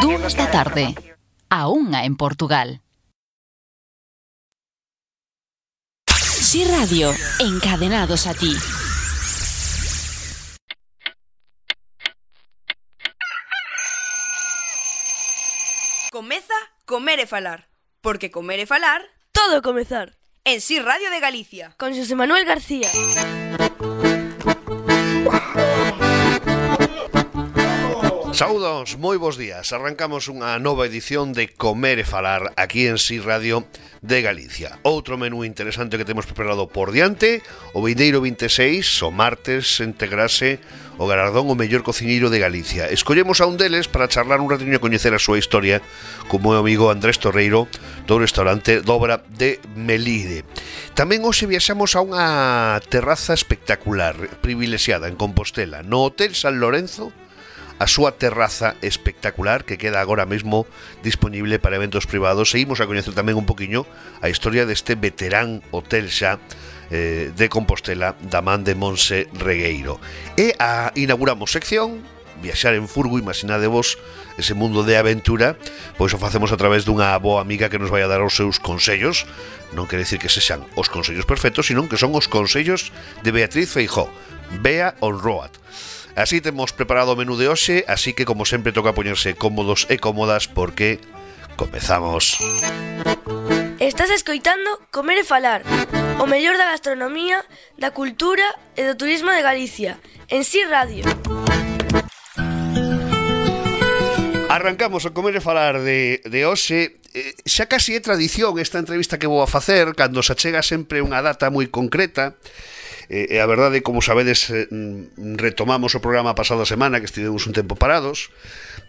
2 da tarde. A 1 en Portugal. Si Radio, encadenados a ti. Comeza Comer e Falar, porque comer e falar todo comezar. En Si Radio de Galicia. Con Xosé Manuel García. Saúdos, moi bons días. Arrancamos unha nova edición de Comer e Falar aquí en Si Radio de Galicia. Outro menú interesante que temos preparado por diante. O vindeiro 26, o martes, integrase o galardón o mellor cociñeiro de Galicia. Escollemos a un deles para charlar un ratiño e coñecer a súa historia co meu amigo Andrés Torreiro do restaurante Dobra de Melide. Tamén hoxe viaxamos a unha terraza espectacular, privilexiada en Compostela, no Hotel San Lorenzo, a súa terraza espectacular que queda agora mesmo disponible para eventos privados. Seguimos a coñecer tamén un poquinho a historia deste veterán hotel xa de Compostela da man de Monse Regueiro. E inauguramos sección Viaxar en furgo, imaginadevos ese mundo de aventura, pois o facemos a través dunha boa amiga que nos vai a dar os seus consellos. Non quere dicir que sexan os consellos perfectos, sino que son os consellos de Beatriz Feijóo, Bea on Road. Así temos preparado o menú de hoxe, así que como sempre toca poñerse cómodos e cómodas porque comezamos. Estás escoitando Comer e Falar, o mellor da gastronomía, da cultura e do turismo de Galicia, en Si Radio. Arrancamos a Comer e Falar de hoxe. Xa casi é tradición esta entrevista que vou a facer cando se achega sempre unha data moi concreta. E a verdade, como sabedes, retomamos o programa a pasada semana, que estivemos un tempo parados,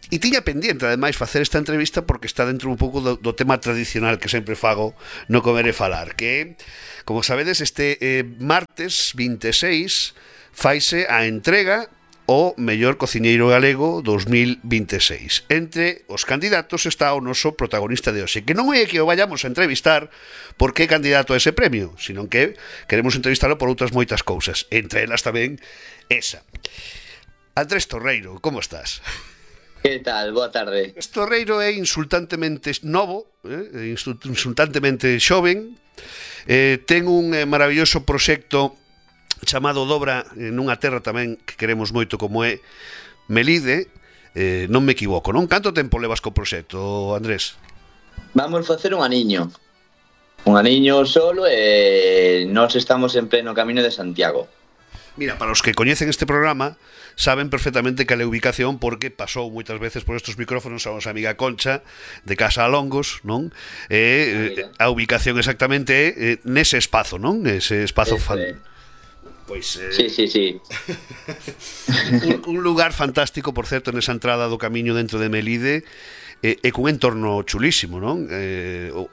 e tiña pendiente, ademais, facer esta entrevista porque está dentro un pouco do tema tradicional que sempre fago no Comer e Falar, que, como sabedes, este martes 26 faise a entrega o mellor cociñeiro galego 2026. Entre os candidatos está o noso protagonista de hoxe, que non é que o vayamos a entrevistar porque é candidato a ese premio, sino que queremos entrevistarlo por outras moitas cousas, entre elas tamén esa. Andrés Torreiro, como estás? Que tal? Boa tarde. Andrés Torreiro é insultantemente novo, insultantemente xoven, ten un maravilloso proxecto chamado Dobra nunha terra tamén que queremos moito como é Melide, non me equivoco, non? Canto tempo levas co proxecto, Andrés? Vamos facer un aniño solo e nós estamos en pleno camiño de Santiago. Mira, para os que coñecen este programa saben perfectamente cal é a ubicación porque pasou moitas veces por estes micrófonos a nosa amiga Concha de Casa Alongos, non? A ubicación exactamente é nese espazo, non? Nese espazo Pois, sí. un lugar fantástico, por certo, nesa entrada do camiño dentro de Melide, e cun entorno chulísimo, non?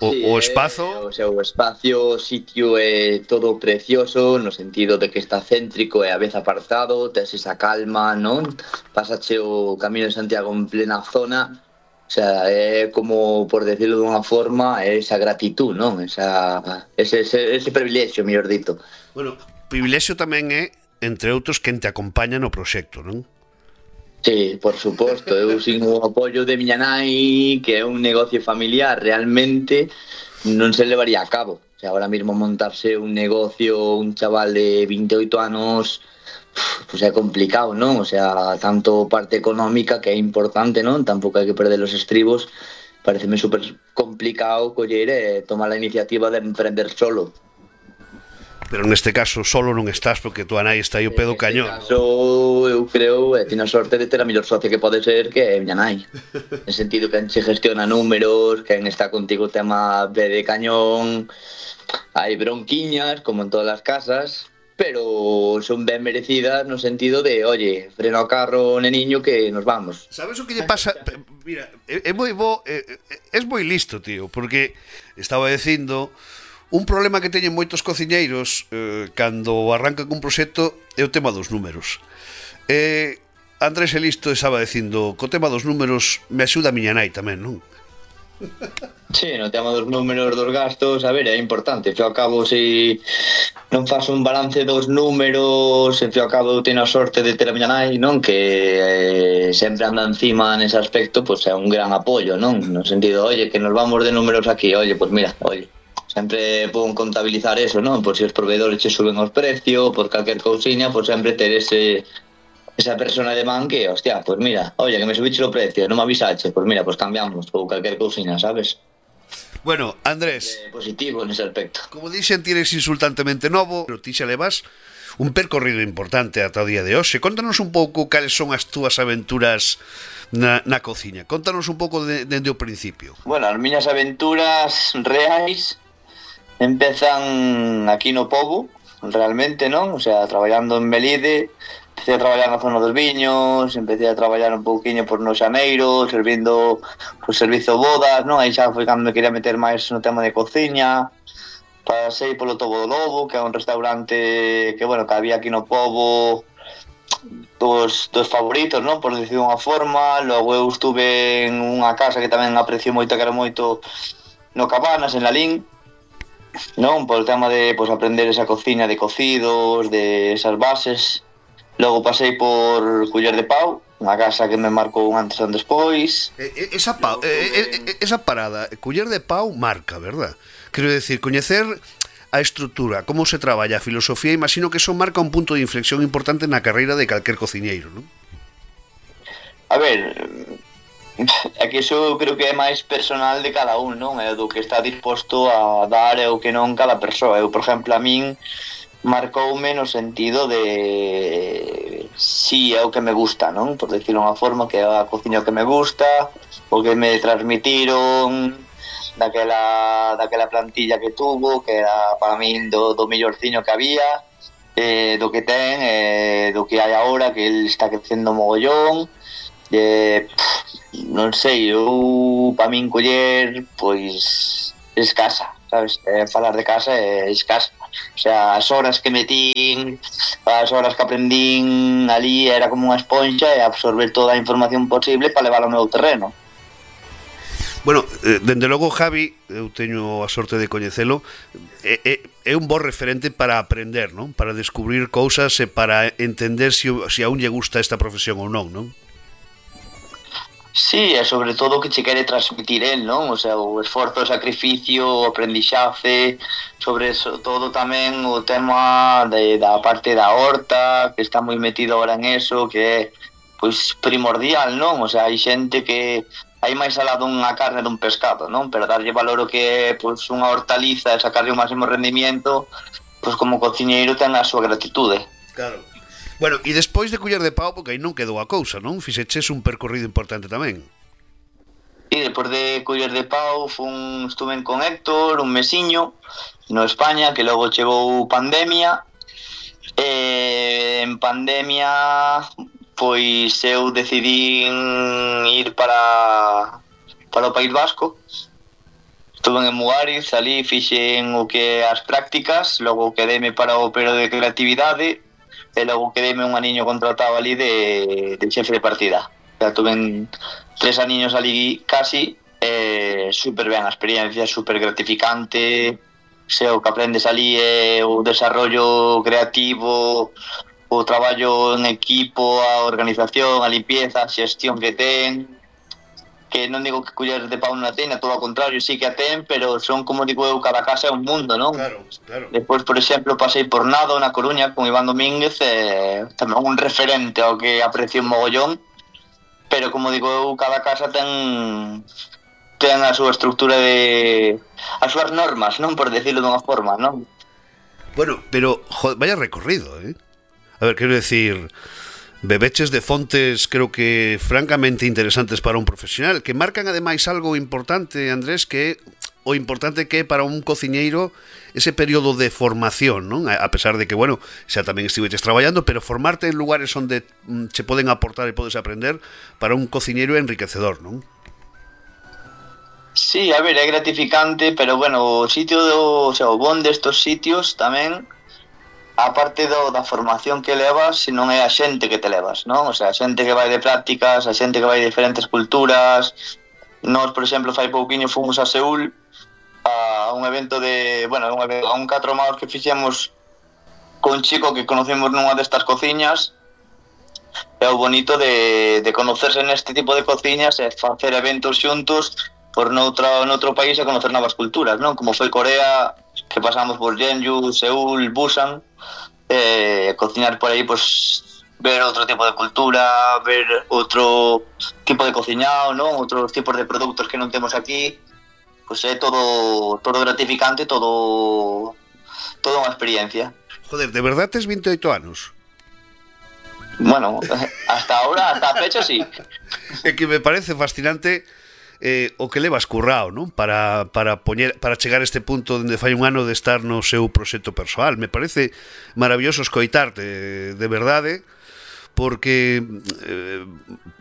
O espazo... O espacio, o sitio é todo precioso, no sentido de que está céntrico e a vez apartado, tes esa calma, non? Pasache o camiño de Santiago en plena zona, o sea, é como, por decirlo dunha forma, esa gratitud, non? Ese privilexio, mellor dito. Bueno, privilexio tamén é, entre outros, quen te acompaña no proxecto, non? Sí, por suposto, eu sin o apoio de miña nai, que é un negocio familiar, realmente non se levaría a cabo. O sea, ahora mismo montarse un negocio, un chaval de 28 anos, pues é complicado, non? O sea, tanto parte económica, que é importante, non? Tampouco hai que perder os estribos, pareceme super complicado coller e tomar a iniciativa de emprender solo. Pero neste caso solo non estás porque tua nai está aí o pé do cañón. Neste caso, eu creo, teño a sorte de ter a mellor socia que pode ser, que é miña nai. En sentido que se gestiona números, quen está contigo o tema pé de cañón, hai bronquiñas, como en todas as casas, pero son ben merecidas no sentido de, oye, frena o carro, neniño, que nos vamos. Sabes o que lle pasa? Mira, é moi bo, é moi listo, tío, porque estaba dicindo... Un problema que teñen moitos cociñeiros cando arrancan cun proxecto é o tema dos números. Andrés Elisto estaba dicindo, co tema dos números me axuda a miña nai tamén, non? Sí, no tema dos números dos gastos, a ver, é importante. Ao cabo, se non faz un balance dos números, se ao cabo eu teño a sorte de ter a miña nai, non? Que sempre anda encima nese aspecto, pois é un gran apoio, non? No sentido, oye, que nos vamos de números aquí, oye, pois mira, oye, sempre pon contabilizar eso, non? Por se os proveedores che suben os precios, por calquer cousiña, pois sempre ter esa persona de man que, hostia, pois mira, oye, que me subiche o precio, non me avisache, pois mira, pois cambiamos, ou calquer cousiña, sabes? Bueno, Andrés, Positivo nese aspecto. como dixen, ti eres insultantemente novo, pero ti xa levas un percorrido importante ata o día de hoxe. Contanos un pouco cales son as túas aventuras na cociña. Contanos un pouco dende o principio. Bueno, as miñas aventuras reais empezan aquí no Pobo, realmente, non? O sea, traballando en Melide, empecé a traballar na zona dos viños, empecé a traballar un pouquiño por no Xaneiro, servindo por servizo bodas, non? Aí xa foi cando me quería meter máis no tema de cociña. Pasei polo Tobo do Lobo, que é un restaurante que, bueno, que había aquí no Pobo dos favoritos, non? Por decir unha forma. Logo eu estuve en unha casa que tamén aprecio moito, que era moito no Cabanas, en Lalín, non? Por o tema de, pois, aprender esa cociña de cocidos, de esas bases. Logo pasei por Culler de Pau, unha casa que me marcou un antes e un despois. Esa parada, Culler de Pau marca, verdad? Quero decir, coñecer a estrutura, como se traballa, a filosofía, imagino que eso marca un punto de inflexión importante na carreira de calquer cociñeiro, non? A ver, é que iso creo que é máis personal de cada un, non? É do que está disposto a dar e o que non cada persoa. Eu, por exemplo, a min marcoume no sentido de si é o que me gusta, non? Por decirlo unha forma, que é a cociña que me gusta, o que me transmitiron daquela plantilla que tuvo, que era para min do mellorciño que había, do que ten, do que hai agora, que el está crecendo mogollón. Non sei, eu para min coller, pois, escasa, sabes? Falar de casa é escasa. O sea, as horas que metín, as horas que aprendín ali, era como unha esponxa e absorber toda a información posible para levar ao meu terreno. Bueno, dende logo, Javi, eu teño a sorte de coñecelo, é un bo referente para aprender, non? Para descubrir cousas e para entender se a un lle gusta esta profesión ou non, non? Sí, e sobre todo o que che quere transmitir el, non? O sea, o esforzo, o sacrificio, o aprendixace, sobre todo tamén o tema da parte da horta, que está moi metido agora en eso, que é, pois, primordial, non? O sea, hai xente que hai máis alá dunha carne dun pescado, non? Pero darlle valor o que é, pois, unha hortaliza e sacarlle o máximo rendimiento, pois, como cociñeiro ten a súa gratitude. Claro. Bueno, e despois de Culler de Pau, porque aí non quedou a cousa, non? Fixeches un percorrido importante tamén. E depois de Culler de Pau estuve con Héctor un mesiño no España, que logo chegou pandemia. En pandemia, pois eu decidí ir para o País Vasco. Estuve en Muariz, ali fixen o que as prácticas, logo quedeme para o período de creatividade, e logo quedeme un aniño contratado ali de xefe de partida. Ya tuve 3 aniños ali casi, super ben a experiencia, super gratificante, o que aprendes ali é o desarrollo creativo, o traballo en equipo, a organización, a limpieza, a xestión que ten, que non digo que Culler de Pau non a ten, a todo ao contrario, sí que a ten, pero son, como digo eu, cada casa é un mundo, non? Claro, claro. Despois, por exemplo, pasei por Nado, na Coruña, con Iván Domínguez, tamén un referente ao que aprecio un mogollón, pero, como digo eu, cada casa ten a súa estructura as súas normas, non? Por decirlo dunha forma, non? Bueno, pero, joder, vaya recorrido, eh? A ver, quero decir, bebeches de fontes, creo que francamente interesantes para un profesional, que marcan ademais algo importante, Andrés, que o importante que é para un cociñeiro ese período de formación, non? A pesar de que, bueno, xa tamén estiveches traballando, pero formarte en lugares onde che poden aportar e podes aprender, para un cociñeiro é enriquecedor, non? Sí, a ver, é gratificante, pero, bueno, o sitio o bon destos sitios tamén, a parte da formación que levas, se non é a xente que te levas, non? O sea, a xente que vai de prácticas, a xente que vai de diferentes culturas, Nós, por exemplo, fai pouquiño fomos a Seúl a un evento a un 4 maos que fixemos con un chico que conocemos nunha destas cociñas. É o bonito de conocerse neste tipo de cociñas e facer eventos xuntos por noutro país e conocer novas culturas, non? Como foi Corea, que pasamos por Jeonju, Seúl, Busan, cociñar por aí, pues ver outro tipo de cultura, ver outro tipo de cociñao, non? Outros tipos de produtos que non temos aquí, pues é todo gratificante, todo unha experiencia. Joder, de verdad tes 28 anos? Bueno, hasta ahora, hasta a fecha, sí. É que me parece fascinante o que levas currao, non? Para chegar a este punto onde fai un ano de estar no seu proxecto persoal. Me parece maravilloso escoitarte, de verdade, porque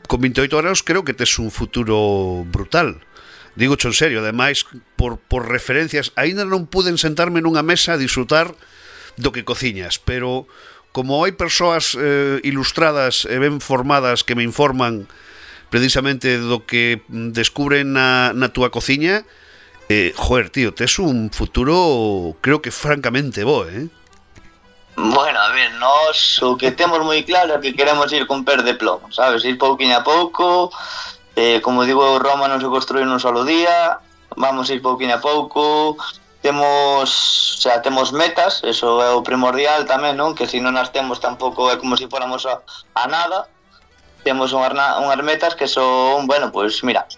con 28 anos creo que tes un futuro brutal. Digo en serio, ademais, por referencias, aínda non puden sentarme nunha mesa a disfrutar do que cociñas, pero como hai persoas ilustradas e ben formadas que me informan precisamente do que descubren na túa cociña, joder, tío, tes un futuro creo que francamente bo, Bueno, a ver, nós o que temos moi claro é que queremos ir con pés de plomo, sabes? Ir pouquiño a pouco, como digo, Roma non se construí nun solo día, vamos ir pouquiño a pouco, temos metas, eso é o primordial tamén, non? Que se non as temos tampouco é como se fóramos a nada. Temos unhas metas que son, bueno, pois mira,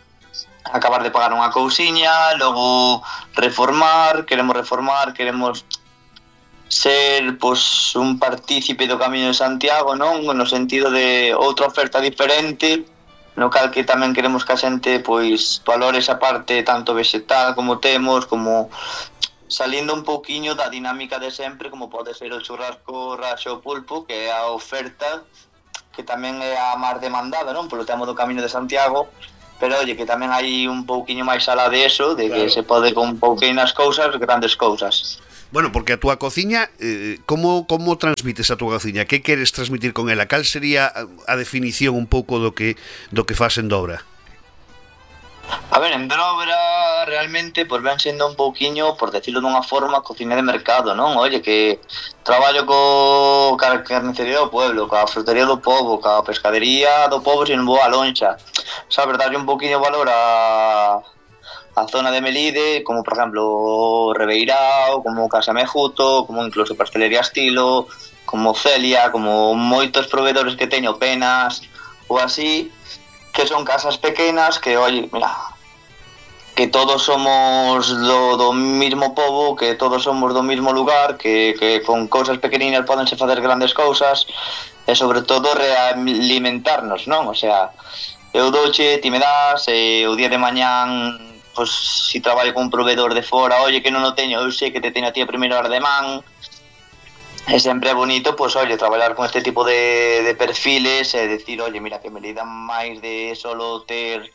acabar de pagar unha cousiña, logo queremos ser pois un partícipe do Camiño de Santiago, non? No sentido de outra oferta diferente, no cal que tamén queremos que a xente pois valore esa parte tanto vegetal como temos, como salindo un pouquiño da dinámica de sempre, como pode ser o churrasco raxo pulpo, que é a oferta que tamén é a máis demandada, non? Polo tema do Camiño de Santiago, pero oye, que tamén hai un pouquiño máis alá de eso, de que se pode con pouquinas cousas, grandes cousas. Bueno, porque a túa cociña, como transmites a túa cociña? Que queres transmitir con ela? Cal sería a definición un pouco do que fas en Dobra? A ver, en Dobra realmente pues ven sendo un pouquiño, por decirlo dunha forma, cocina de mercado, non? Oye, que traballo ca carnicería do pueblo, ca frutería do pobo, ca pescadería do pobo sin vou a lonxa. Sabes, darlle un pouquiño valor a zona de Melide, como por exemplo Rebeirao, como Casa Mejuto, como incluso Pastelería Estilo, como Celia, como moitos proveedores que teño, Penas ou así, que son casas pequenas que, oye, mira, que todos somos do mismo pobo, que todos somos do mismo lugar, que con cousas pequeninas podense facer grandes cousas, e sobre todo realimentarnos, non? O sea, eu douche, ti me das, e o día de mañán, pois, si traballo con un proveedor de fora, oye, que non o teño, eu sei que te teño a ti a primeira hora de man. É sempre bonito, pois, oye, traballar con este tipo de perfiles e decir, oye, mira, que me lidan máis de solo ter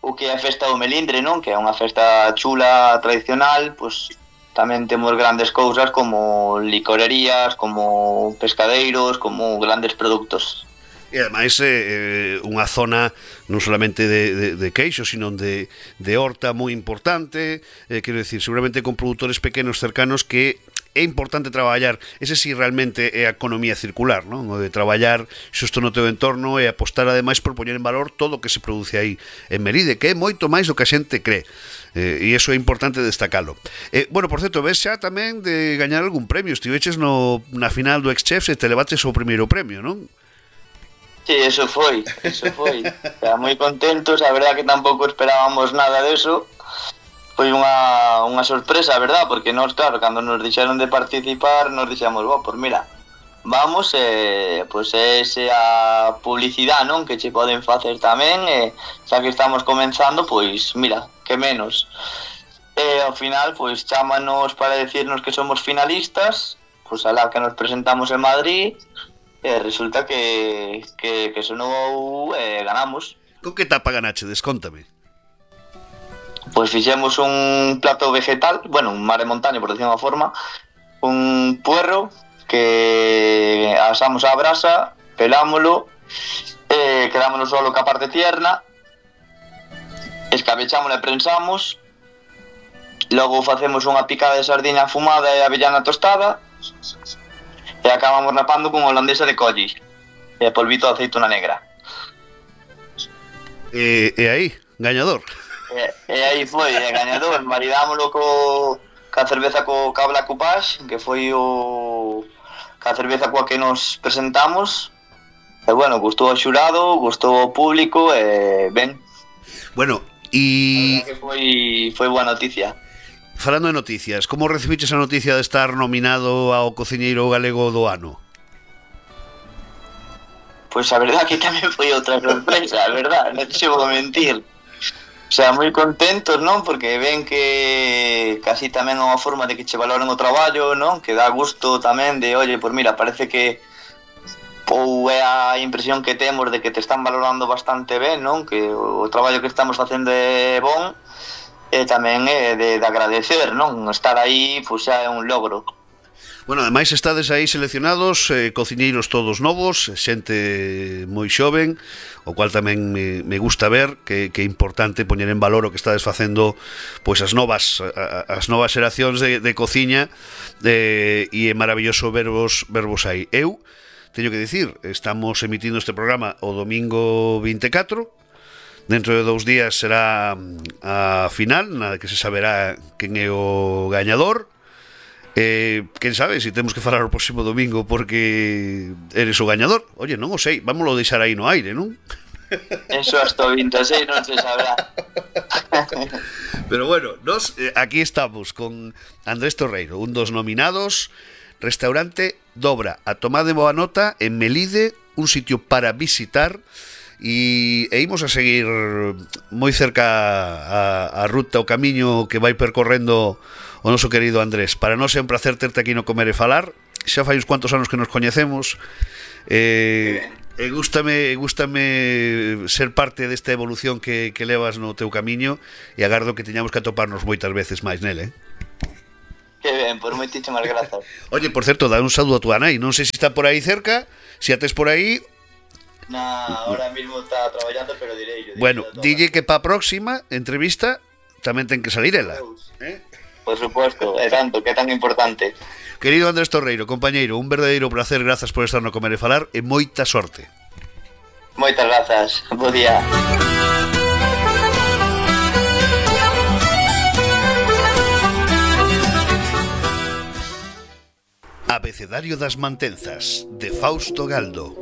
o que é a festa do melindre, non? Que é unha festa chula, tradicional, pois tamén temos grandes cousas como licorerías, como pescadeiros, como grandes produtos. E ademais unha zona non solamente de queixo, sino de horta moi importante, quero dicir, seguramente con produtores pequenos cercanos que é importante traballar, ese sí realmente é a economía circular, non? O de traballar xusto no teu entorno e apostar ademais por poñer en valor todo o que se produce aí en Meride, que é moito máis do que a xente cree. E iso é importante destacalo. Bueno, por certo, ves xa tamén de gañar algún premio, estiveches na final do X-Chefs e te levaches o primeiro premio, non? Sí, eso foi. Estaba moi contentos, a verdad que tampouco esperábamos nada deso. Foi unha sorpresa, a verdad, porque nós, claro, cando nos dixeron de participar, nos dixemos, pues mira, vamos, pois esa publicidade, non, que che poden facer tamén, xa que estamos comenzando, pois mira, que menos. Ao final, pois chámanos para decirnos que somos finalistas, pois alá que nos presentamos en Madrid, resulta que sonou ganamos. Con que tapa ganache? Descóntame. Pois fixemos un plato vegetal, bueno, un mare montaña, por decir unha forma, un puerro que asamos á brasa, pelámolo, quedámonos solo ca parte tierna, escabechámola e prensamos. Logo facemos unha picada de sardiña afumada e avellana tostada e acabamos rapando con holandesa de colli e polvito de aceituna negra. E aí, gañador. E aí foi, gañador. Maridámoslo ca cerveza ca Black Coupage, que foi ca cerveza coa que nos presentamos. E bueno, gustou ao xurado, gustou ao público e ben. Bueno, e que foi boa noticia. Falando de noticias, como recibiches a noticia de estar nominado ao cociñeiro galego do ano? Pois a verdad que tamén foi outra sorpresa, a verdad, non te vou mentir. O sea, moi contentos, non? Porque ven que casi tamén é unha forma de que che valoren o traballo, non? Que dá gusto tamén de, oye, pois mira, parece que ou é a impresión que temos de que te están valorando bastante ben, non? Que o traballo que estamos facendo é bon. E tamén é de agradecer, non? Estar aí, pois xa é un logro. Bueno, ademais estades aí seleccionados, cociñeiros todos novos, xente moi xoven, o cual tamén me gusta ver que é importante poñer en valor o que estades facendo, pois as novas xeracións de cociña, e é maravilloso vervos aí. Eu teño que dicir, estamos emitindo este programa o domingo 24. Dentro de 2 días será a final, na que se saberá quen é o gañador. Quen sabe se temos que falar o próximo domingo porque eres o gañador. Oye, non o sei, vámoslo deixar aí no aire, non? Eso hasta o 26 non se sabrá. Pero bueno, nos aquí estamos con Andrés Torreiro, un dos nominados. Restaurante Dobra, a tomar de boa nota en Melide, un sitio para visitar. E imos a seguir moi cerca a ruta, o camiño que vai percorrendo o noso querido Andrés. Para nós é un placer terte aquí no Comer e Falar. Xa fai uns cuantos anos que nos coñecemos. Gústame ser parte desta evolución que levas no teu camiño e agardo que teñamos que atoparnos moitas veces máis nele. Que ben, por moitísimas grazas. Oye, por certo, dá un saúdo a tua nai. Non sei se está por aí cerca, se a tes por aí. Ahora mismo está traballando, pero direi. Bueno, dille que pa próxima entrevista tamén ten que salir ela. Por supuesto, é tanto, que é tan importante. Querido Andrés Torreiro, compañeiro, un verdadeiro placer, grazas por estar no Comer e Falar e moita sorte. Moitas grazas, bo día. Abecedario das Mantenzas, de Fausto Galdo.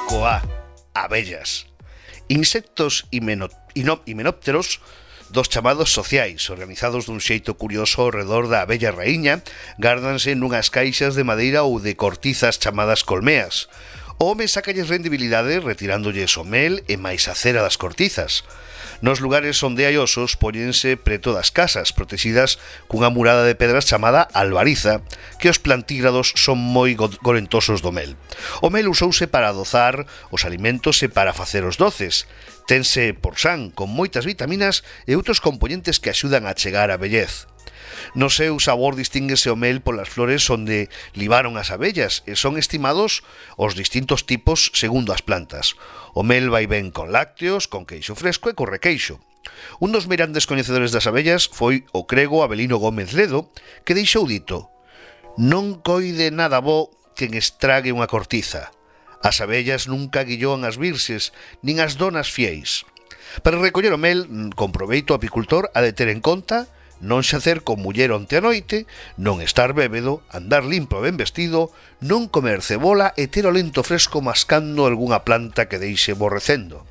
Coa, abellas. Insectos himenópteros dos chamados sociais, organizados dun xeito curioso ao redor da abella raíña, gárdanse nunhas caixas de madeira ou de cortizas chamadas colmeas. O home sácalles rendibilidade retirándolles o mel e máis a cera das cortizas. Nos lugares onde hai osos póñense preto das casas, protegidas cunha murada de pedras chamada albariza, que os plantígrados son moi gorentosos do mel. O mel usouse para adozar os alimentos e para facer os doces. Tense por san, con moitas vitaminas e outros componentes que axudan a chegar a vellez. No seu sabor distínguese o mel polas flores onde libaron as abellas e son estimados os distintos tipos segundo as plantas. O mel vai ben con lácteos, con queixo fresco e con requeixo. Un dos meirandes coñecedores das abellas foi o crego Avelino Gómez Ledo, que deixou dito: non coide nada bo quen estrague unha cortiza. As abellas nunca guilloan as virxes, nin as donas fieis. Para recoller o mel, con proveito o apicultor ha de ter en conta non xacer con muller onte a noite, non estar bébedo, andar limpo e ben vestido, non comer cebola e ter o lento fresco mascando algunha planta que deixe borrecendo.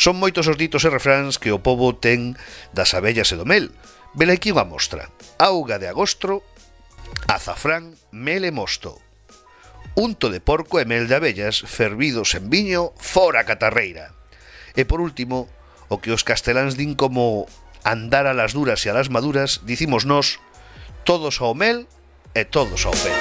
Son moitos os ditos e refráns que o pobo ten das abellas e do mel. Vela aquí unha mostra: auga de agosto, azafrán, mel e mosto. Unto de porco e mel de abellas, fervidos en viño, fora catarreira. E por último, o que os casteláns din como andar a las duras e a las maduras, dicimos nós: todos ao mel e todos ao fel.